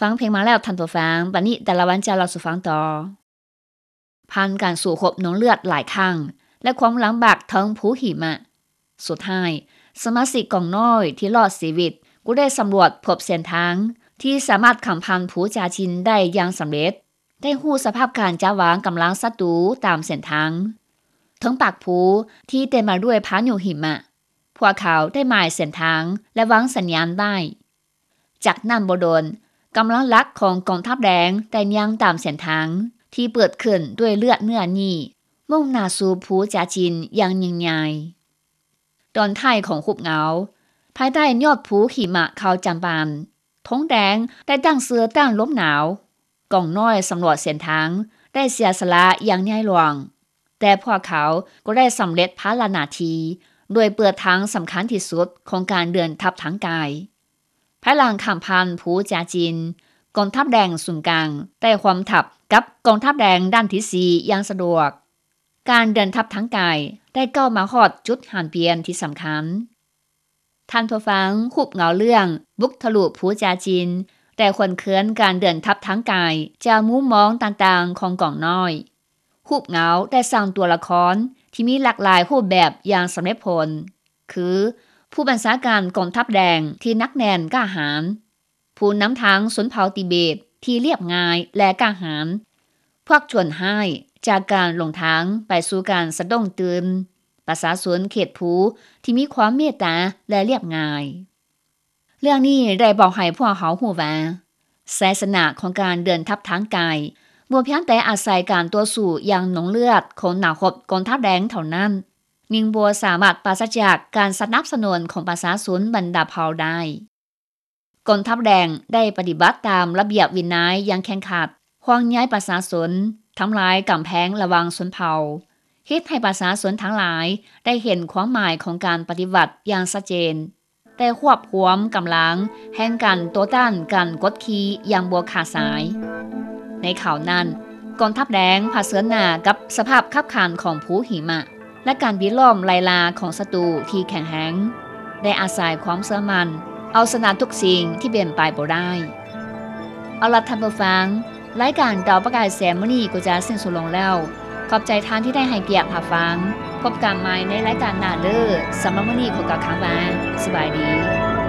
ຟັງເພງມາແລ້ວທ່ານຜູ້ຟັງ, ບັດນີ້ດາລາວັນຈະເລົ່າສູ່ຟັງຕໍ່. ຜ່ານການສູ້ຮົບໜອງເລືອດຫຼາຍຄັ້ງ ແລະ ຄວາມລຳບາກເທິງພູຫິມະ, ສຸດທ້າຍ ສະມາຊິກກອງນ້ອຍທີ່ລອດຊີວິດກໍໄດ້ສຳຫຼວດພົບເສັ້ນທາງທີ່ສາມາດຂ້າມຜ່ານພູຈາຈິນໄດ້ຢ່າງສຳເລັດ, ໄດ້ຮູ້ສະພາບການຈັດວາງກຳລັງສັດຕູຕາມເສັ້ນທາງ ເທິງປາກພູທີ່ເຕັມມາດ້ວຍພາຍຸຫິມະ. ພວກເຂົາໄດ້ໝາຍເສັ້ນທາງ ແລະ ວາງສັນຍານໄວ້. ຈາກນັ້ນບໍ່ດົນ, ກຳລັງຫຼັກຂອງກອງທັບແດງໄດ້ຍ່າງຕາມເສັ້ນທາງທີ່ເປີດຂຶ້ນດ້ວຍເລືອດເນື້ອນີ້, ມຸ່ງໜ້າສູ່ພູຈາຈິນຢ່າງຍິ່ງໃຫຍ່. ຕອນທ້າຍຂອງຮູບເງົາ, ພາຍໃຕ້ຍອດພູຫິມະເຂົາຈຳປານ, ທົງແດງໄດ້ຕັ້ງເຊື່ອຕ້ານລົມໜາວ. ກອງນ້ອຍສຳຫຼວດເສັ້ນທາງໄດ້ເສຍສະຫຼະຢ່າງໃຫຍ່ຫຼວງ, ແຕ່ພວກເຂົາກໍໄດ້ສຳເລັດພາລະໜ້າທີ່ ໂດຍເປີດທາງສຳຄັນທີ່ສຸດຂອງການເດີນທັບທາງກາຍ. ພາຍຫຼັງຂ້າມຜ່ານພູຈາຈິນ, ກອງທັບແດງສູນກາງໄດ້ຮ່ວມທັບກັບກອງທັບແດງດ້ານທີສີ່ຢ່າງສະດວກ. ການເດີນທັບທາງກາຍໄດ້ກ້າວມາຮອດຈຸດຫັນປ່ຽນທີ່ສຳຄັນ. ທ່ານຜູ້ຟັງ, ຮູບເງົາເລື່ອງບຸກທະລຸພູຈາຈິນ ໄດ້ຫວນເຄືອນການເດີນທັບທາງກາຍຈາກມຸມມອງຕ່າງໆຂອງກອງນ້ອຍ. ຮູບເງົາໄດ້ສ້າງຕົວລະຄອນທີ່ມີຫຼາກຫຼາຍຮູບແບບຢ່າງສຳເລັດຜົນ, ຄື ຜູ້ບັນຊາການກອງທັບແດງທີ່ໜັກແໜ້ນກ້າຫານ, ຜູ້ນຳທາງຊົນເຜົ່າຕິເບດທີ່ລຽບງ່າຍ ແລະ ກ້າຫານ, ພວກໂຈນຮ້າຍຈາກການຫຼົງທາງໄປສູ່ການສະດົ້ງຕື່ນ, ປະຊາຊົນເຂດພູທີ່ມີຄວາມເມດຕາ ແລະ ລຽບງ່າຍ. ເລື່ອງນີ້ໄດ້ບອກໃຫ້ພວກເຮົາຮູ້ວ່າ ໄຊຊະນະຂອງການເດີນທັບທາງກາຍບໍ່ພຽງແຕ່ອາໄສການຕໍ່ສູ້ຢ່າງໜອງເລືອດຂອງນັກຮົບກອງທັບແດງເທົ່ານັ້ນ, ຍິ່ງບໍ່ສາມາດປາສະຈາກການສະໜັບສະໜູນຂອງປະຊາຊົນບັນດາເຜົ່າໄດ້. ກອງທັບແດງໄດ້ປະຕິບັດຕາມລະບຽບວິໄນຢ່າງເຄັ່ງຄັດ, ຫ່ວງໃຍປະຊາຊົນ, ທຳລາຍກຳແພງລະຫວ່າງຊົນເຜົ່າ, ເຮັດໃຫ້ປະຊາຊົນທັງຫຼາຍໄດ້ເຫັນຄວາມໝາຍຂອງການປະຕິວັດຢ່າງຊັດເຈນ, ໄດ້ຮວບຮວມກຳລັງແຫ່ງການຕໍ່ຕ້ານການກົດຂີ່ຢ່າງບໍ່ຂາດສາຍ. ໃນຄາວນັ້ນ, ກອງທັບແດງຜະເຊີນໜ້າກັບສະພາບຂັບຂັນຂອງພູຫິມະ ແລະ ການບິດລ້ອມໄລ່ລ່າຂອງສັດຕູທີ່ແຂງແຮງ, ໄດ້ອາໄສຄວາມເຊື່ອໝັ້ນເອົາຊະນະທຸກສິ່ງທີ່ເປັນໄປບໍ່ໄດ້. ເອົາລະທ່ານຜູ້ຟັງ, ລາຍການດາວປະກາຍແສງມື້ນີ້ກໍຈະສິ້ນສຸດລົງແລ້ວ. ຂອບໃຈທ່ານທີ່ໄດ້ໃຫ້ກຽດຮັບຟັງ. ພົບກັນໃໝ່ໃນລາຍການໜ້າເດີ້. ສຳລັບມື້ນີ້ຂໍກ່າວຄຳວ່າ ສະບາຍດີ.